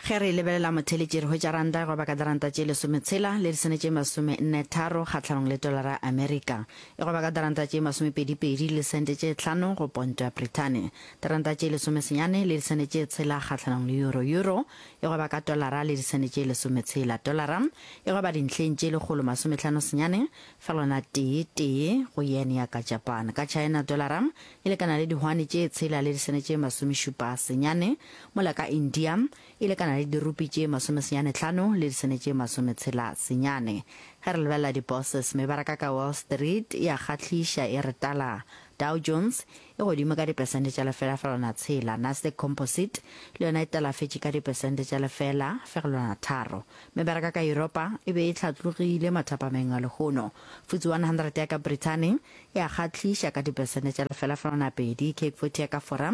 Ge re e lebelela motheletši re hwetša ranta e gweba ka diranta tše lesometshela le disene tše masomennetharo kgahlanong le tolara ya Amerika. E gweba ka diranta tše masomepedipedi le disente tše tlhano go ponto ya Brithani. Diranta tše lesomesenyane le disene tše tshela kgahlanong le euro. Euro e gweba ka tolara le disene tše lesometshela. Tolara e gweba dintlheng tše lekgolo masomehlano senyane fegelwana tee tee go yen ya ka Japan. Ka China tolara e lekana le dihwane tše tshela le disene tše masomešupa senyane Mola ka India e lekana le dirupi tše masomesenyanetlhano le disene tše masometshela senyane. Ge re lebelela di-bourses, mebaraka ka Wall Street e a kgahliša e re tala. Dow Jones e godimo ka dipesente tša lefela fegelwana tshela, Nasdaq Composite le yona e talafetše ka dipesente tša lefela fegelwana tharo. Mebaraka ka Yuropa e be e hlatlogile mathapameng a lehono. FTSE 100 ya ka Brithani e a kgahliša ka dipesente tša lefela fegelwana pedi, CAC 40 ya ka Fora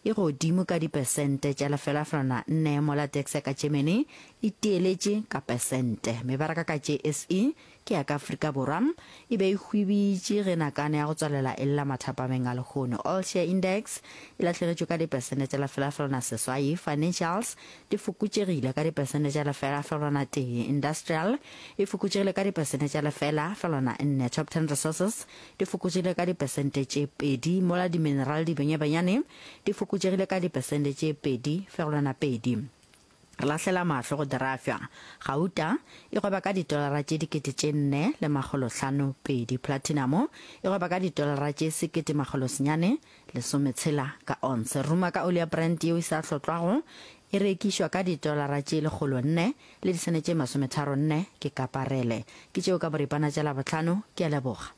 E godimo ka dipesente tša 0,4 mola DAX ya ka Germany e tieletše ka pesente. Mebaraka ka JSE ke ya ka Afrika Borwa e be e hwibitše ge nakane ya go tswalela e lla mathapameng a lehono. All Share Index e lahlegetšwe ka dipesente tša 0,8, Financials di fokotšegile ka dipesente tša 0,1, Industrial e fokotšegile ka dipesente tša 0,4, Top Ten Resources di fokotšegile ka dipesente tše pedi mola diminerale dibenyabenyane di fokotšegile ka dipesente tše 2.2. Re lahlela mahlo go dirafša. Gauta e gweba ka ditolara tše 4520, platinamo e gweba ka ditolara tše 1960 ka onse. Ruma ka oli ya Brent yeo e sa hlotlwago e rekišwa ka ditolara tše 400 le disene tše 34 ke kaparele. Ke tšeo ka boripana tša Labohlano. Ke a leboga.